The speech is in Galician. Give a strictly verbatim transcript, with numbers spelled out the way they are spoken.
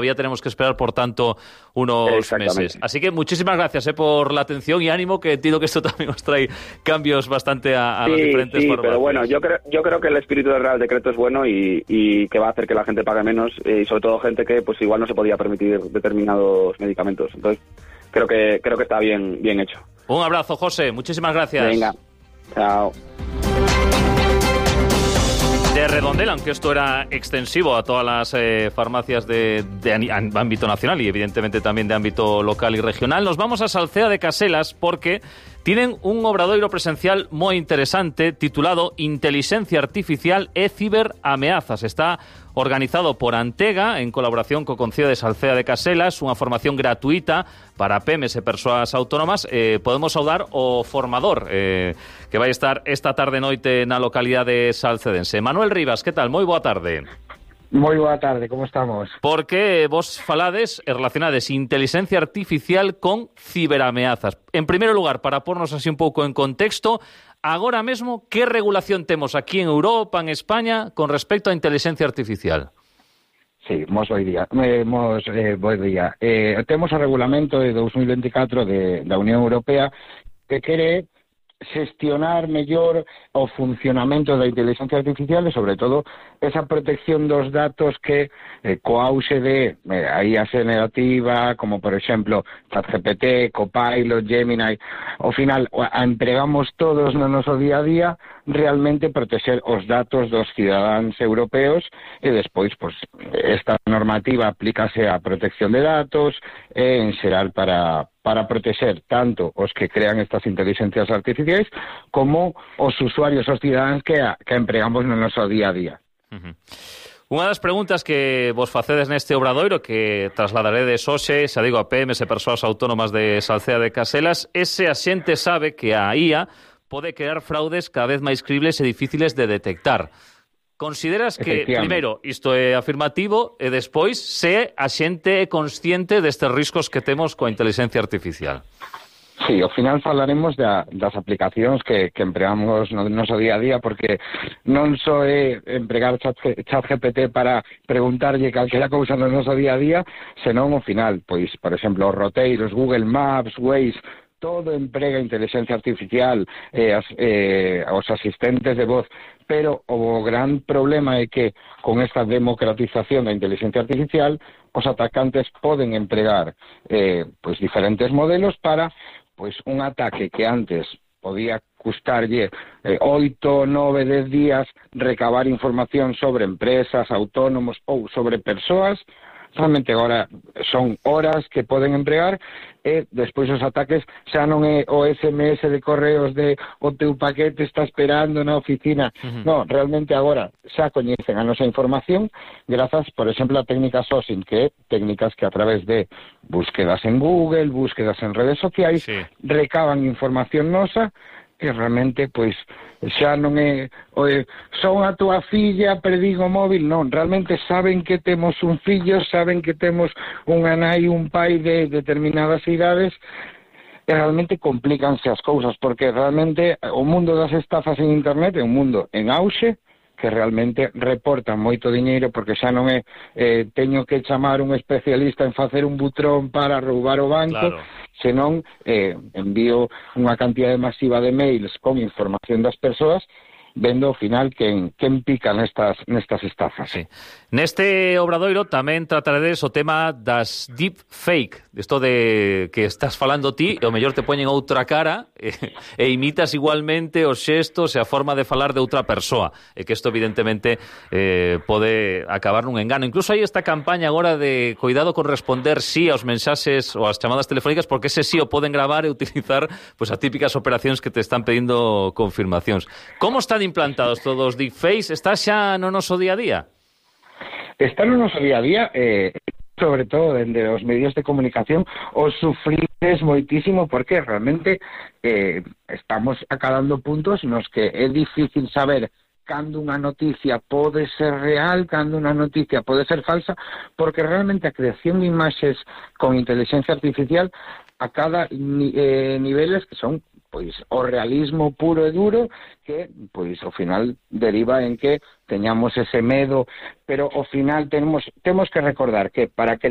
Todavía tenemos que esperar, por tanto, unos meses. Así que muchísimas gracias eh, por la atención y ánimo, que entiendo que esto también os trae cambios bastante a, a sí, las diferentes sí, formas. Pero bueno, yo creo, yo creo que el espíritu del Real Decreto es bueno y, y que va a hacer que la gente pague menos, y sobre todo gente que pues igual no se podía permitir determinados medicamentos. Entonces, creo que creo que está bien, bien hecho. Un abrazo, José. Muchísimas gracias. Venga, chao. De Redondela, aunque esto era extensivo a todas las eh, farmacias de, de ámbito nacional y evidentemente también de ámbito local y regional, nos vamos a Salcea de Caselas porque tienen un obradoiro presencial moi interesante titulado Inteligencia Artificial e Ciberameazas. Está organizado por Antega en colaboración co Concello de Salcea de Caselas, unha formación gratuita para pemes e persoas autónomas. Eh, podemos saudar o formador eh, que vai estar esta tarde noite na localidade salcedense. Manuel Rivas, que tal? Moi boa tarde. Moi boa tarde, como estamos? Porque vos falades e relacionades inteligencia artificial con ciberameazas. En primeiro lugar, para pornos así un pouco en contexto, agora mesmo, que regulación temos aquí en Europa, en España, con respecto á inteligencia artificial? Sí, mos boi día. Eh, mos, eh, boi día. Eh, temos o regulamento de dos mil veinticuatro de, da Unión Europea que quere xestionar mellor o funcionamento da inteligencia artificial e, sobre todo, esa protección dos datos que, eh, co auxe de eh, a I A generativa, como, por exemplo, ChatGPT, Copilot, Gemini, ao final, a empregamos todos no noso día a día, realmente proteger os datos dos cidadáns europeos e, despois, pues, esta normativa aplícase á protección de datos e, en xeral, para... para proteger tanto os que crean estas inteligencias artificiais como os usuarios, os cidadáns que, a, que empregamos no noso día a día. Uh-huh. Unha das preguntas que vos facedes neste obradoiro, que trasladaredes hoxe, xa digo, a P M S e persoas autónomas de Salcea de Caselas, ese a xente sabe que a I A pode crear fraudes cada vez máis cribles e difíciles de detectar. Consideras que, primeiro, isto é afirmativo e despois se a xente é consciente destes riscos que temos coa inteligencia artificial? Sí, ao final falaremos da, das aplicacións que, que empregamos no noso día a día, porque non só é empregar chat, chat G P T para preguntarlle calquera cousa no noso día a día, senón ao final, pois, por exemplo, os roteiros, Google Maps, Waze, todo emprega inteligencia artificial, eh, as, eh, os asistentes de voz, pero o gran problema é que con esta democratización da inteligencia artificial os atacantes poden empregar eh, pois diferentes modelos para pois un ataque que antes podía custarlle eh, oito, nove, dez días recabar información sobre empresas, autónomos ou sobre persoas. Realmente agora son horas que poden empregar e despois os ataques xa non é o S M S de correos de o teu paquete está esperando na oficina. Uh-huh. No, realmente agora xa coñecen a nosa información grazas, por exemplo, a técnica sourcing, que é técnicas que a través de búsquedas en Google, búsquedas en redes sociais, sí, recaban información nosa e realmente, pois, xa non é oe, son a tua filla, perdín o móvil, non, realmente saben que temos un fillo, saben que temos unha nai, un pai de determinadas idades, e realmente complícanse as cousas, porque realmente o mundo das estafas en internet é un mundo en auxe, que realmente reportan moito diñeiro, porque xa non é eh, teño que chamar un especialista en facer un butrón para roubar o banco, claro, senón eh, envío unha cantidade masiva de mails con información das persoas, vendo ao final quen, quen pica nestas, nestas estafas. Sí. Neste obradoiro tamén trataredes o tema das deepfake, isto de que estás falando ti e o mellor te poñen outra cara e, e imitas igualmente os xestos e a forma de falar de outra persoa, e que isto evidentemente eh, pode acabar nun engano. Incluso hai esta campaña agora de cuidado con responder sí aos mensaxes ou ás chamadas telefónicas, porque ese sí o poden gravar e utilizar pues, as típicas operacións que te están pedindo confirmacións. Como están implantados todos os deepfakes? Está xa no noso día a día? Está no noso día a día, eh, sobre todo dende os medios de comunicación, os sufrides moitísimo, porque realmente eh, estamos acadando puntos nos que é difícil saber cando unha noticia pode ser real, cando unha noticia pode ser falsa, porque realmente a creación de imaxes con inteligencia artificial a cada ni, eh, niveles que son pois o realismo puro e duro que pois ao final deriva en que teñamos ese medo, pero ao final temos temos que recordar que para crear